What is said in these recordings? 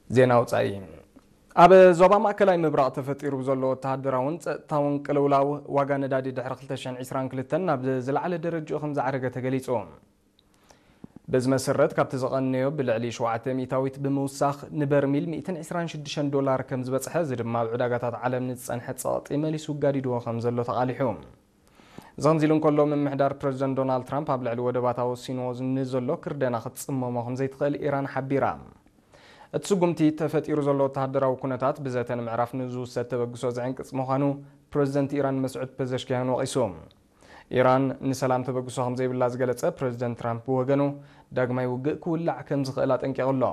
ዜና ውጻኢ። ኣብ ዞባ ማእከላይ ምብራቕ ተፈጢሩ ብዘሎ ወተሃደራውን ጸጥታውን ቅልውላው፣ ዋጋ ነዳዲ ድሕሪ ክልተ ሽሕን ዕስራን ክልተን ናብ ዝለዓለ ደረጃኡ ከም ዝዓረገ ተገሊጹ። በዚ መሰረት፣ ካብቲ ዝቐነዮ ብልዕሊ ሸውዓተ ሚእታዊት ብምውሳኽ፣ ንበርሚል ሚእትን ዕስራን ሽዱሽተን ዶላር ከም ዝበጽሐ፣ እዚ ድማ ኣብ ዕዳጋታት ዓለም ንዝጸንሐ ጸቕጢ መሊሱ ጋዲድዎ ከም ዘሎ ተቓሊሑ። እዚ ከምዚ ኢሉ እንከሎ፣ ምምሕዳር ፕረዚደንት ዶናልድ ትራምፕ ኣብ ልዕሊ ወደባታ ወሲንዎ ንዘሎ ክርደና ክትጽመሞ ከም ዘይትኽእል ኢራን ሓቢራ። እቲ ስጉምቲ ተፈጢሩ ዘሎ ወተሃደራዊ ኩነታት ብዘተ ንምዕራፍ ንዝውሰድ ተበግሶ ዝዕንቅጽ ምዃኑ ፕረዚደንት ኢራን መስዑድ ፐዘሽኪያን ወቒሱ። ኢራን ንሰላም ተበግሶ ከም ዘይብላ ዝገለጸ ፕረዚደንት ትራምፕ ብወገኑ፣ ዳግማይ ውግእ ክውላዕ ከም ዝኽእል ኣጠንቂቑ ኣሎ።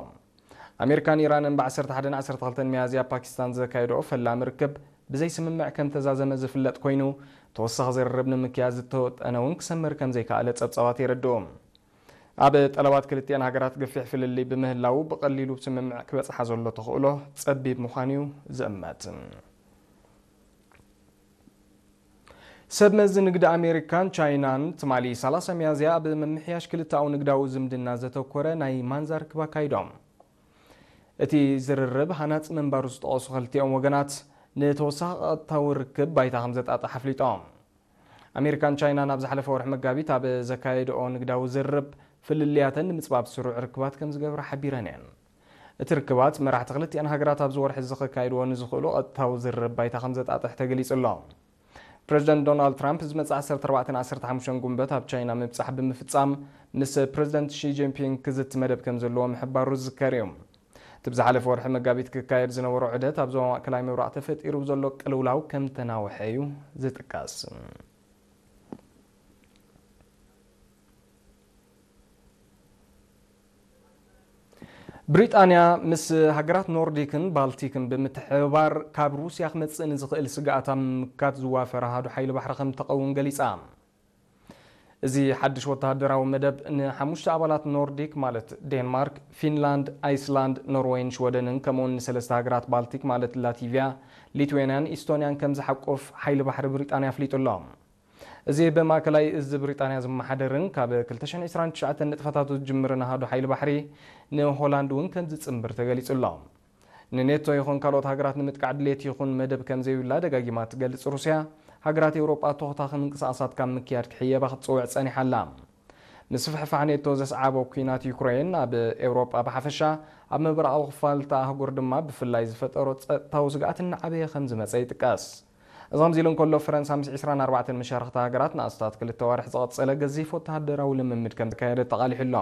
ኣሜሪካን ኢራንን ብ ዓሰርተ ሓደን ዓሰርተ ክልተን ሚያዝያ ኣብ ፓኪስታን ዘካየድኦ ፈላሚ ርክብ ብዘይ ስምምዕ ከም ተዛዘመ ዝፍለጥ ኮይኑ፣ ተወሳኺ ዝርርብ ንምክያድ ዝተወጠነ እውን ክሰምር ከም ዘይከኣለ ጸብጻባት የረድኡ። ኣብ ጠለባት ክልቲኣን ሃገራት ገፊሕ ፍልልይ ብምህላዉ፣ ብቐሊሉ ስምምዕ ክበጽሓ ዘሎ ተኽእሎ ጸቢብ ምዃኑ እዩ ዝእመት። ሰብ መዚ ንግዲ ኣሜሪካን ቻይናን ትማሊ ሰላሳ ሚያዝያ ኣብ ምምሕያሽ ክልተኣዊ ንግዳዊ ዝምድና ዘተኮረ ናይ ማንዛ ርክብ ኣካይዶም። እቲ ዝርርብ ሃናጺ ምንባሩ ዝጠቐሱ ክልቲኦም ወገናት፣ ንተወሳኺ ቀጥታዊ ርክብ ባይታ ከም ዘጣጥሕ ኣፍሊጦም። ኣሜሪካን ቻይናን ኣብ ዝሓለፈ ወርሒ መጋቢት ኣብ ዘካየድኦ ንግዳዊ ዝርርብ፣ ፍልልያተን ንምጽባብ ስሩዕ ርክባት ከም ዝገብራ ሓቢረን እየን። እቲ ርክባት፣ መራሕቲ ክልቲኣን ሃገራት ኣብዚ ወርሒ እዚ ከካይድዎ ንዝኽእሉ ቀጥታዊ ዝርርብ ባይታ ከም ዘጣጥሕ ተገሊጹ ኣሎ። ፕረዚደንት ዶናልድ ትራምፕ ዝመጽእ ዓሰርተ ኣርባዕተን ዓሰርተ ሓሙሽተን ጉንበት ኣብ ቻይና ምብጻሕ ብምፍጻም፣ ምስ ፕረዚደንት ሺ ጂንፒንግ ክዝቲ መደብ ከም ዘለዎ ምሕባሩ ዝዝከር እዩ። እቲ ብዝሓለፈ ወርሒ መጋቢት ክካየድ ዝነበሮ ዑደት፣ ኣብ ዞባ ማእከላይ ምብራቕ ተፈጢሩ ብዘሎ ቅልውላው ከም ተናውሐ እዩ ዝጥቀስ። ብሪጣንያ ምስ ሃገራት ኖርዲክን ባልቲክን ብምትሕብባር፣ ካብ ሩስያ ክመጽእ ንዝኽእል ስግኣት ኣብ ምምካት ዝዋፈር ኣሃዱ ሓይሊ ባሕሪ ከም ተቐውም ገሊጻ። እዚ ሓድሽ ወተሃደራዊ መደብ ንሓሙሽተ ኣባላት ኖርዲክ፣ ማለት ዴንማርክ፣ ፊንላንድ፣ ኣይስላንድ፣ ኖርዌይን ሽወደንን፣ ከምኡውን ንሰለስተ ሃገራት ባልቲክ፣ ማለት ላቲቪያ፣ ሊትዌንያን ኢስቶንያን፣ ከም ዝሓቁፍ ሓይሊ ባሕሪ ብሪጣንያ ኣፍሊጡ ኣሎ። እዚ ብማእከላይ እዚ ብሪጣንያ ዝመሓደርን ካብ ክልተ ሽሕን ዕስራን ትሽዓተን ንጥፈታቱ ዝጅምርን ኣሃዱ ሓይሊ ባሕሪ፣ ንሆላንድ እውን ከም ዝጽንብር ተገሊጹ ኣሎ። ንኔቶ ይኹን ካልኦት ሃገራት ንምጥቃዕ ድሌት ይኹን መደብ ከም ዘይብላ ደጋጊማ ትገልጽ ሩስያ፣ ሃገራት ኤውሮጳ ተኾታኺ ምንቅስቓሳት ካብ ምክያድ ክሕየባ ክትጽውዕ ጸኒሓ ኣላ። ምስፍሕፋሕ ኔቶ ዘስዓቦ ኲናት ዩክሬን ኣብ ኤውሮጳ ብሓፈሻ፣ ኣብ ምብራቓዊ ክፋል እታ ኣህጉር ድማ ብፍላይ ዝፈጠሮ ጸጥታዊ ስግኣት እናዓበየ ከም ዝመጸ ይጥቀስ። እዚ ከምዚ ኢሉ እንከሎ፣ ፈረንሳ ምስ ዕስራን ኣርባዕተን መሻርኽቲ ሃገራት ንኣስታት ክልተ ኣዋርሕ ዝቐጸለ ገዚፍ ወተሃደራዊ ልምምድ ከም ዘካየደት ተቓሊሑ ኣሎ።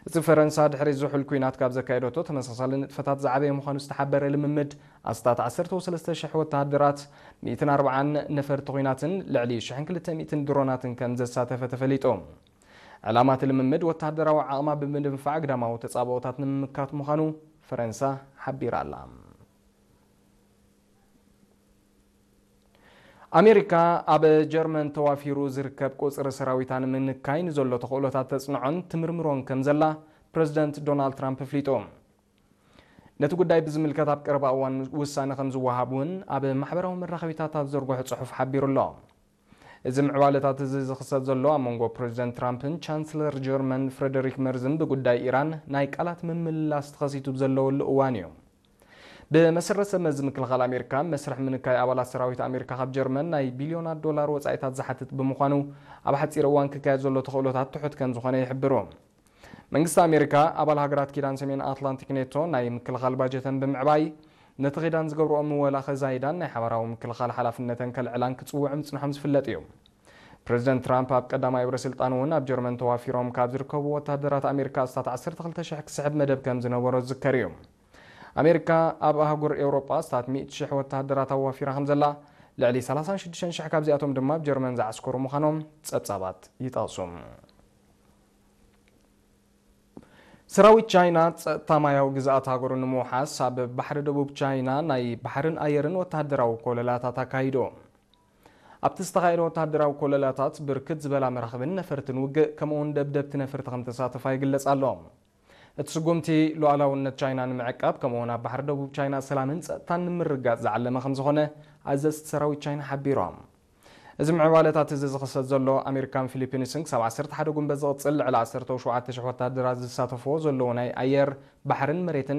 እቲ ፈረንሳ ድሕሪ ዝሑል ኲናት ካብ ዘካየደቶ ተመሳሳሊ ንጥፈታት ዝዓበየ ምዃኑ ዝተሓበረ ልምምድ፣ ኣስታት ዓሰርተ ወሰለስተ ሽሕ ወተሃደራት፣ ሚእትን ኣርባዓን ነፈርቲ ኲናትን ልዕሊ ሽሕን ክልተ ሚእትን ድሮናትን ከም ዘሳተፈ ተፈሊጡ። ዕላማ እቲ ልምምድ ወተሃደራዊ ዓቕማ ብምድንፋዕ ግዳማዊ ተጻብኦታት ንምምካት ምዃኑ ፈረንሳ ሓቢራ ኣላ። ኣሜሪካ ኣብ ጀርመን ተዋፊሩ ዝርከብ ቁጽሪ ሰራዊታ ንምንካይ ንዘሎ ተኽእሎታት ተጽንዖን ትምርምሮን ከም ዘላ ፕረዚደንት ዶናልድ ትራምፕ ኣፍሊጡ። ነቲ ጉዳይ ብዝምልከት ኣብ ቀረባ እዋን ውሳነ ከም ዝወሃብ እውን ኣብ ማሕበራዊ መራኸቢታት ኣብ ዘርግሖ ጽሑፍ ሓቢሩ ኣሎ። እዚ ምዕባለታት እዚ ዝኽሰት ዘሎ ኣብ መንጎ ፕረዚደንት ትራምፕን ቻንስለር ጀርመን ፍረደሪክ መርዝን ብጉዳይ ኢራን ናይ ቃላት ምምልላስ ተኸሲቱ ዘለወሉ እዋን እዩ። ብመሰረት ሰብ መዚ ምክልኻል ኣሜሪካ፣ መስርሕ ምንካይ ኣባላት ሰራዊት ኣሜሪካ ካብ ጀርመን ናይ ቢልዮናት ዶላር ወጻኢታት ዝሓትት ብምዃኑ፣ ኣብ ሓጺር እዋን ክካየድ ዘሎ ተኽእሎታት ትሑት ከም ዝኾነ ይሕብሩ። መንግስቲ ኣሜሪካ፣ ኣባል ሃገራት ኪዳን ሰሜን ኣትላንቲክ ኔቶ ናይ ምክልኻል ባጀተን ብምዕባይ፣ ነቲ ኪዳን ዝገብርኦ ምወላ ከዛይዳን ናይ ሓባራዊ ምክልኻል ሓላፍነተን ከልዕላን ክጽውዑ ምጽንሖም ዝፍለጥ እዩ። ፕረዚደንት ትራምፕ ኣብ ቀዳማይ ወረ ስልጣኑ እውን ኣብ ጀርመን ተዋፊሮም ካብ ዝርከቡ ወተሃደራት ኣሜሪካ ኣስታት ዓሰርተ ክልተ ሽሕ ክስሕብ መደብ ከም ዝነበሮ ዝዝከር እዩ። ኣሜሪካ ኣብ ኣህጉር ኤውሮጳ ኣስታት ሚእቲ ሽሕ ወተሃደራት ኣዋፊራ ከም ዘላ፣ ልዕሊ ሰላሳን ሽዱሽተን ሽሕ ካብዚኣቶም ድማ ኣብ ጀርመን ዝዓስከሩ ምዃኖም ጸብጻባት ይጠቕሱ። ሰራዊት ቻይና ጸጥታ ማያዊ ግዝኣት ሃገሩ ንምውሓስ ኣብ ባሕሪ ደቡብ ቻይና ናይ ባሕርን ኣየርን ወተሃደራዊ ኮለላታት ኣካይዱ። ኣብቲ ዝተኻየደ ወተሃደራዊ ኮለላታት ብርክት ዝበላ መራኽብን ነፈርትን ውግእ፣ ከምኡውን ደብደብቲ ነፈርቲ ከም ተሳተፋ ይግለጽ ኣሎ። እቲ ስጉምቲ ሉዓላውነት ቻይና ንምዕቃብ፣ ከምኡውን ኣብ ባሕሪ ደቡብ ቻይና ሰላምን ጸጥታን ንምርግጋጽ ዝዓለመ ከም ዝኾነ ኣዘዝቲ ሰራዊት ቻይና ሓቢሮም። እዚ ምዕባለታት እዚ ዝኽሰት ዘሎ፣ ኣሜሪካን ፊሊፒንስን ክሳብ ዓሰርተ ሓደ ጉንበት ዝቕጽል ልዕሊ ዓሰርተ ሸውዓተ ሽሕ ወተሃደራት ዝሳተፍዎ ዘለዉ ናይ ኣየር፣ ባሕርን መሬትን